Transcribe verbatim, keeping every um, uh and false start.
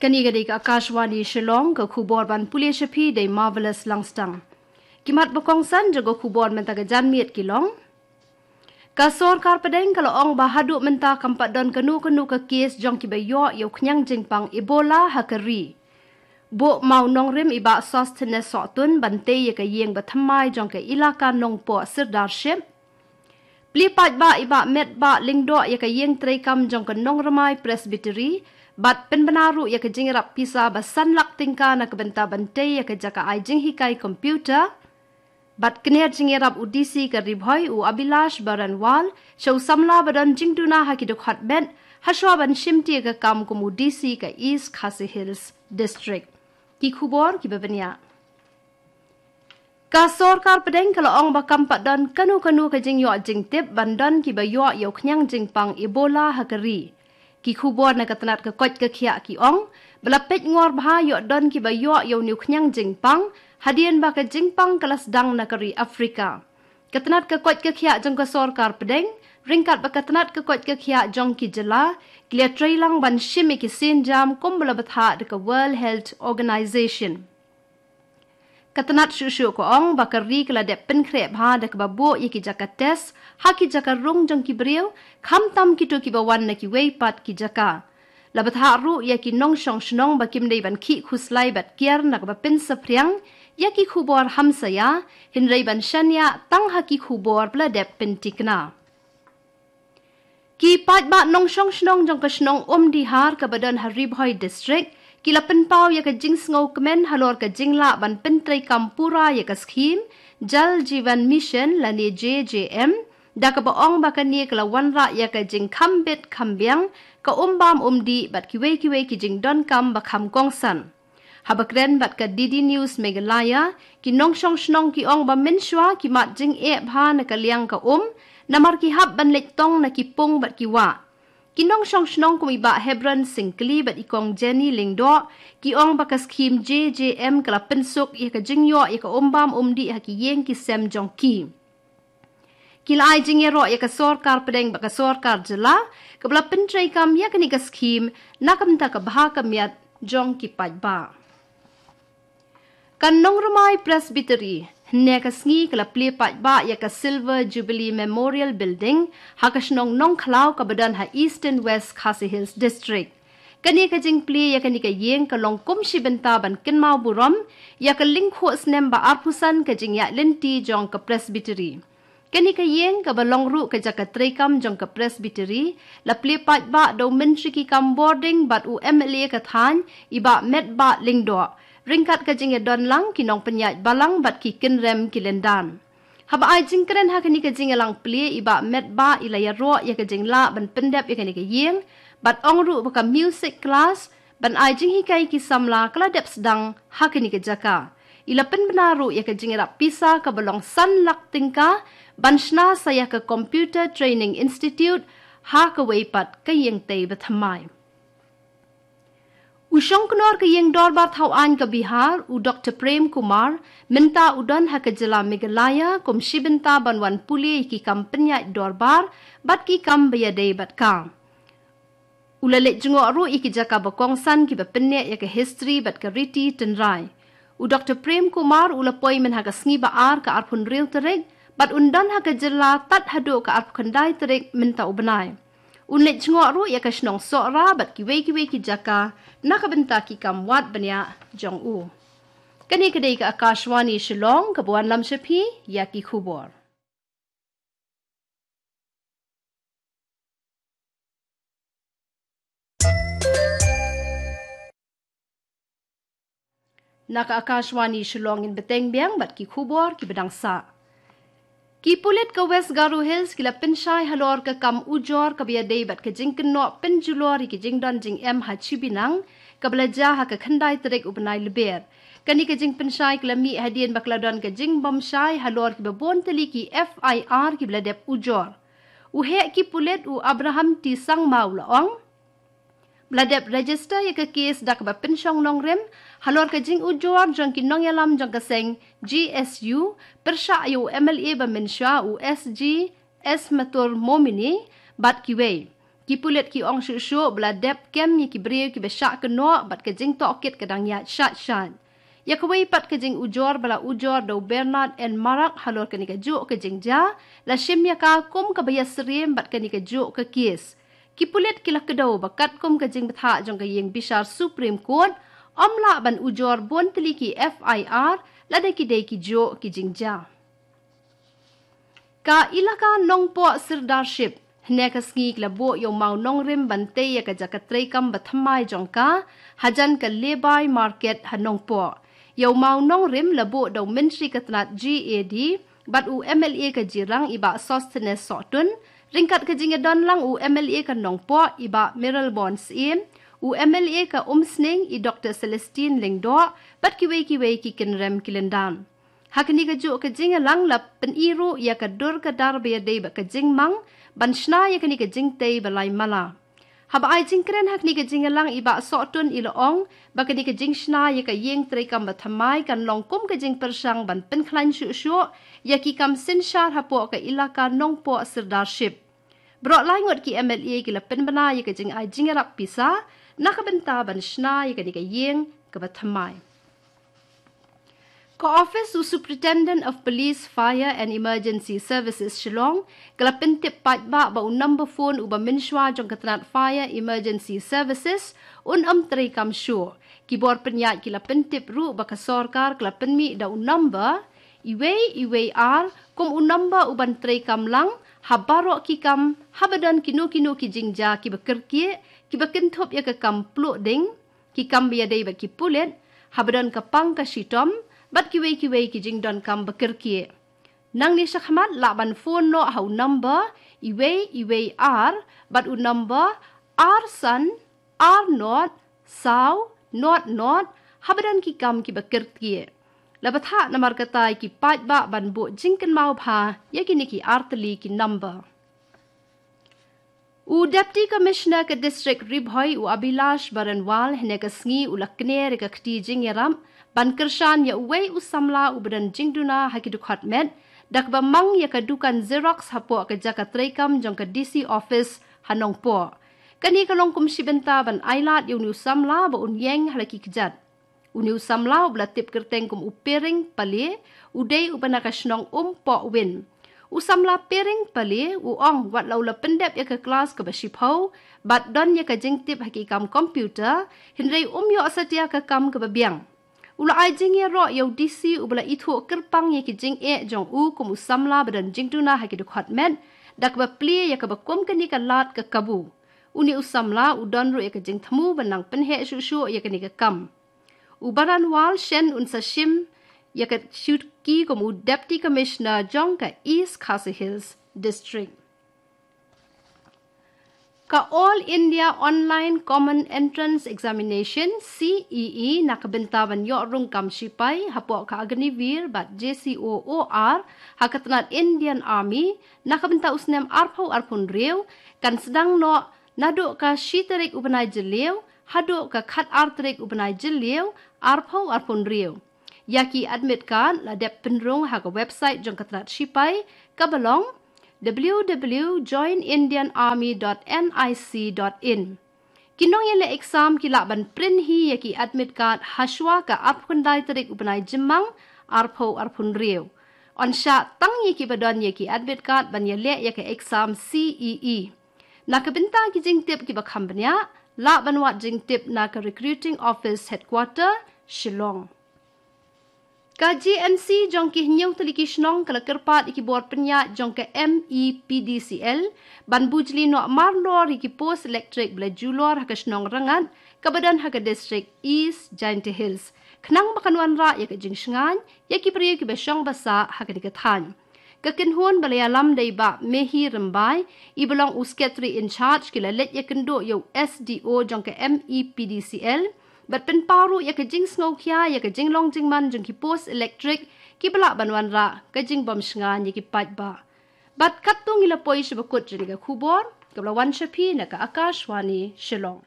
Kane ka dei ka Akashvani Shillong, ka khubor ban pule sha phi da i Marvelous Langstang. Ki mat ba kongsan jong ka khubor mynta ka janmiet ki long: Ka sorkar pdeng ka la ong ba haduh mynta kam pat don kano kano ka kes jong kiba ïoh ïa u khñiang jingpang Ebola ha ka ri. Buh mawnongrim i Bah Sosthenes Sohtun ban tei ïa ka ïing ba thymmai jong ka Elaka Nongpoh Sirdarship. Plie paidbah i Bah Metbah Lyngdoh ïa ka ïing treikam jong ka Nongrmai Presbytery bad pynbna ruh ïa ka jingïarap pisa ba san lak tyngka na ka bynta ban tei ïa ka jaka ai jinghikai computer. Bad kner jingïarap u D C ka Ri Bhoi, u Abhilash Baranwal, sha u samla ba don jingduna ha ki dkhot met, hashwa ban shimti ïa ka kam kum u D C ka East Khasi Hills District. Ki khubor kiba bniah. Ka sorkar pdeng ka la ong ba kam pat don kano kano ka jingïoh jingtip ban don kiba ïoh ïa u khñiang jingpang Ebola ha ka ri. Ki khubor na ka tnat ka koit ka khiah ki ong ba la peit ngor bha ïoh don kiba ïoh ïa une u khñiang jingpang, hadien ba ka jingpang ka la sdang na ka ri Afrika. Ka tnat ka koit ka khiah jong ka sorkar pdeng, ryngkat bad ka tnat ka koit ka khiah jong ki jylla, ki la trei lang ban shim ïa ki sienjam kumba la bthah da ka World Health Organization. Ka tnat shuh shuh ka ong ba ka ri ka la dep pynkhreh bha da kaba buh ïa ki jaka test ha ki jaka rung jong ki briew, khamtam kito kiba wan na kiwei pat ki jaka. La bthah ruh ïa ki nongshong shnong ba kim dei ban khih khuslai bad kiar na kaba pynsaphriang ïa ki khubor hamsaïa, hynrei ban shaniah tang ha ki khubor ba la dep pyntikna. Ki paidbah nongshong shnong jong ka shnong Umdihar kaba don ha Ri Bhoi District, ki la pynpaw ïa ka jingsngew kmen halor ka jinglah ban pyntreikam pura ïa ka skhim Jal Jeevan Mission lane J J M, da kaba ong ba kane ka la wanrah ïa ka jingkham bit kham biang, ka um bam um dih bad kiwei kiwei ki jingdonkam ba kham kongsan. Haba kren bad ka D D News Meghalaya, ki nongshong shnong ki ong ba mynshuwa ki mad jingeh bha na ka liang ka um, namar ki hap ban leit tong na ki pung bad ki wah. Ki nongshong shnong kum i Bah Hebron Syngkli bad i Kong Jenny Lyngdoh, ki ong ba ka skhim J J M ka la pynsuk ïa ka jingïoh ïa ka um bam um dih ha ki ïing ki sem jong ki. Ki la ai jingïaroh ïa ka sorkar pdeng bad ka sorkar jylla, kaba la pyntreikam ïa kane ka skhim na ka bynta ka bha ka miat jong ki paidbah. Ka Nongrmai Presbytery, hynne ka sngi ka la plie paidbah ïa ka Silver Jubilee Memorial Building, ha ka shnong Nongkhlaw kaba don ha Eastern West Khasi Hills District. Kane ka jingplie ïa kane ka ïing ka long kum shi bynta ban kynmaw burom ïa ka lyngkhuh snem ba arphew san ka jingïaid lynti jong ka Presbytery. Kane ka ïing kaba long ruh ka jaka treikam jong ka Presbytery, la plie paidbah da u Myntri ki kam bording bad u M L A ka thaiñ, i Bah Metbah Lyngdoh, ryngkat ka jingïadon lang ki nongpynïaid balang bad ki kynrem ki lyndan. Haba ai jingkren ha kane ka jingïalang plie, i Bah Metbah i la ïaroh ïa ka jinglah ban pyndep ïa kane ka ïing, bad ong ruh ba ka music class ban ai jinghikai ki samla ka la dep sdang ha kane ka jaka. I la pynbna ruh ïa ka jingïarap pisa kaba long san lak tyngka ban shna sa ïa ka Computer Training Institute ha kawei pat ka ïing tei ba thymmai. U shongknor ka ïing dorbar thaw aiñ ka Bihar, u Doktor Prem Kumar, mynta u don ha ka jylla Meghalaya kum shi bynta ban wan pule ïa ki kam pynïaid dorbar bad ki kam ba ïadei bad ka. U la leit jngoh ruh ïa ki jaka ba kongsan kiba pynneh ïa ka history bad ka riti tynrai. U Doktor Prem Kumar u la poi mynha ka sngi ba ar ka arphew hynriew tarik, bad un don ha ka jylla tad haduh ka arphew khyndai tarik mynta u bnai. Un leit jngoh ruh ïa ka shnong Sohra bad kiwei kiwei ki jaka na ka bynta ki kam wad bniah jong u. Kane ka dei ka Akashvani Shillong kaba wanlam sha phi ïa ki khubor. Na ka Akashvani Shillong, ngin bteng biang bad ki khubor kiba dang sah. Ki pulit ka West Garo Hills ki la pynshai halor ka kam ujor kaba ïadei bad ka jingkynnoh pynjulor ïa ki jingdon jingem ha Chibinang, kaba la jia ha ka khyndai tarik u bnai Lber. Kane ka jingpynshai ka la mih hadien ba ka la don ka jingbymshai halor kiba bun tylli ki F I R kiba la dep ujor. U heh ki pulit u Abraham T Sangma u la ong ba la dep register ïa ka case da kaba pynshong nongrim halor ka jingujor jong ki nongïalam jong ka seng G S U, pyrshah ïa u M L A ba mynshuwa u S G Esmatur Momini bad kiwei. Ki pulit ki ong shuh shuh ba la dep kem ïa ki briew kiba shah kynnoh bad ka jingtohkit ka dang ïaid shait shait. Ïa kawei pat ka jingujor ba la ujor da u Bernard N Marak halor kane kajuh ka jingjia, la shim ïa ka kum kaba ïasyriem bad kane kajuh ka kes. Ki pulit ki la kdew ba katkum ka jingbthah jong ka ïing bishar Supreme Court, ym lah ban ujor bun tylli ki F I R lada ki dei kijuh ki jingjia. Ka ilaka Nongpoh Sirdarship, hynne ka sngi ki la buh ïa u mawnongrim ban tei ïa ka jaka treikam bathymmai jong ka hajan ka Lebai Market ha Nongpoh. Ïa u mawnongrim la buh da u myntri ka tnat G A D bad u M L A ka Jirang i Bah Sosthenes Sohtun, ryngkat ka jingïadon lang u M L A ka Nongpoh i Bah Mayralborn Syiem, u M L A ka Umsning i Doktor Celestine Lyngdoh, bad kiwei kiwei ki kynrem ki lyndan. Ha kane kajuh ka jingïalang la pyni ruh ïa ka dur ka dar ba ïadei bad ka jingmang ban shna ïa kane ka jingtei ba lai mala. Haba ai jingkren ha kane ka jingïalang i Bah Sohtun i la ong ba kane ka jingshna ïa ka ïing treikam bathymmai kan long kum ka jingpyrshang ban pynkhlaiñ shuh shuh ïa ki kam synshar hapoh ka ilaka Nongpoh Sirdarship. Baroh lai ngut ki M L A ki la pynbna ïa ka jingai jingïarap pisa na ka bynta ban shna ïa kane ka ïing kaba thymmai. Ka Office u Superintendent of Police, Fire and Emergency Services Shillong ka la pyntip paidbah ba u number phone uba mynshuwa jong ka tnat Fire Emergency Services un ym treikam shuh. Ki bor pynïaid ki la pyntip ruh ba ka sorkar ka la pynmih da u number uwei uwei ar kum u number uban treikam lang ha baroh ki kam haba don kino kino ki jingjia kiba kyrkieh, kiba kynthup ïa ka kam pluh ding, ki kam ba ïadei bad ki pulit, haba don ka pang ka shitom bad kiwei kiwei ki jingdonkam ba kyrkieh. Nangne shakhmat lah ban phone noh ha u number uwei uwei ar bad u number ar san ar not saw not not haba don ki kam kiba kyrkieh. La bthah namar kata ïa ki paidbah ban buh jingkynmaw bha ïa kine ki artylli ki number. U Deputy Commissioner ka District Ri Bhoi u Abhilash Baranwal hynne ka sngi u la kner ïa ka kti jingïarap ban kyrshan ïa uwei u samla uba don jingduna ha ki dkhot met da kaba mang ïa ka dukan Xerox hapoh ka jaka treikam jong ka D C Office ha Nongpoh. Kane ka long kum shi bynta ban ailad ïa une u samla ba un ïeng ha la ki kjat. Une u samla uba la tip kyrteng kum u Pering Pale, u dei uba na ka shnong Umpohwin. U samla Pering Pale u ong wat la u la pyndep ïa ka klas kaba shiphew bad don ïa ka jingtip ha ki kam computer, hynrei um ïoh satia ka kam kaba biang. U la ai jingïaroh ïa u D C uba la ithuh kyrpang ïa ki jingeh jong u kum u samla ba don jingduna ha ki dkhot met da kaba plie ïa kaba kum kane ka lad ka kabu. Une u samla u don ruh ïa ka jingthmu ban nang pynheh shuh shuh ïa kane ka kam. U Baranwal shen un sa shim ïa ka shuki kum u Deputy Commissioner jong ka East Khasi Hills District. Ka All India Online Common Entrance Examination, C E E, na ka bynta ban ïoh rung kam shipai hapoh ka Agniveer bad J C O O R ha ka tnat Indian Army na ka bynta u snem arphew arphew hynriew kan sdang noh naduh ka shi tarik u bnai Jylliew haduh ka khat ar tarik u bnai Jylliew arphew arphew hynriew. Ïa ki admit card la dep pynrung ha ka website jong ka tnat shipai kaba long w w w dot join indian army dot n i c dot in. Ki nongïaleh exam ki lah ban print hi ïa ki admit card hashwa ka arphew khyndai tarik u bnai Jymmang arphew arphew hynriew. Yn shah tang ïa kiba don ïa ki admit card ban ïaleh ïa ka exam C E E. Na ka bynta ki jingtip kiba kham bniah, lah ban wad jingtip na ka Recruiting Office Headquarter, Shillong. Ka J N C jong ki hynñiew tylli ki shnong ka la kyrpad ïa ki bor pynïaid jong ka M E P D C L ban bujli noh marlor ïa ki post electric ba la julor ha ka shnong Rangad kaba don ha ka district East Jaintia Hills khnang ba kan wanrah ïa ka jingshngaiñ ïa ki briew kiba shong ba sah ha kane ka thaiñ. Ka kynhun ba la ïalam da i Bah Mehi Rymbai, iba long u Secretary in Charge, ki la leit ïakynduh ïa u S D O jong ka M E P D C L bad pynpaw ruh ïa ka jingsngewkhia ïa ka jinglong jingman jong ki post electric kiba lah ban wanrah ka jingbym shngaiñ ïa ki paidbah. Bad katto ngi la poi sha ba kut jong ka khubor kaba la wan sha phi na ka Akashvani Shillong.